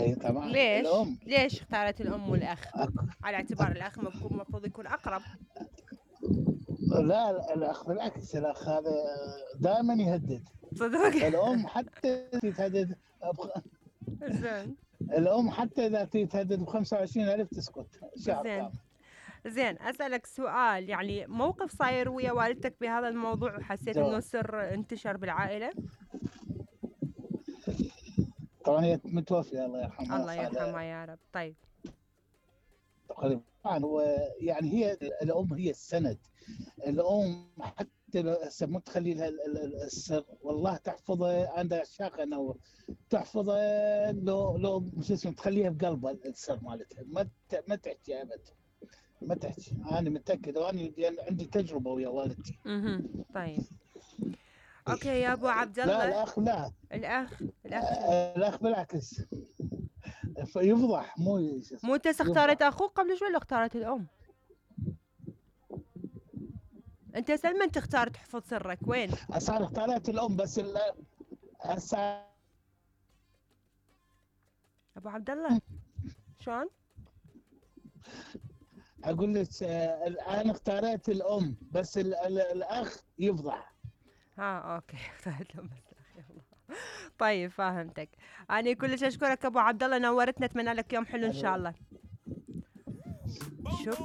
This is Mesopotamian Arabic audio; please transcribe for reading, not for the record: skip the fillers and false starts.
هي طبعا ليش؟ الام. ليش اختارت الأم والأخ؟ أك... على اعتبار الأخ المفروض يكون أقرب. لا الاخ بالعكس، الاخ هذا دائما يهدد. صدق؟ الام حتى تهدد زين. الام حتى اذا تهدد ب 25,000 تسكت شهر زين. كامل. زين، أسألك سؤال، يعني موقف صاير ويا والدتك بهذا الموضوع وحسيت إنه جواب. سر انتشر بالعائلة؟ طبعا هي متوفيه الله يرحمها، الله صار لها يرحمها يا رب. طيب. تقريبا. طبعا هو يعني هي الام هي السند. الام حتى لو هسه مو تخلي لها السر، والله تحفظه، عندها شاقه انه تحفظه. لو شو اسمه تخليها بقلبها السر مالتها، ما تحكي ابد، ما تحكي. انا متاكد، وانا عندي تجربه ويا والدتي. طيب. اوكي يا ابو عبد لا الله. الاخ لا. الاخ شنو؟ الاخ بالعكس يفضح، مو شو مو اسمه انت اختارت يفضح. اخوك قبل شوي ولا اختارت الام؟ انت سلمى انت اختار تحفظ سرك وين؟ صار اختارت الام بس هسه ابو عبد الله شلون؟ اقول لك انا اختارت الام بس الاخ يفضح. اوكي. اختارت الام بس الأخ يلا. طيب فهمتك. انا كلش اشكرك ابو عبد الله، نورتنا، اتمنى لك يوم حلو ان شاء الله. شكرا.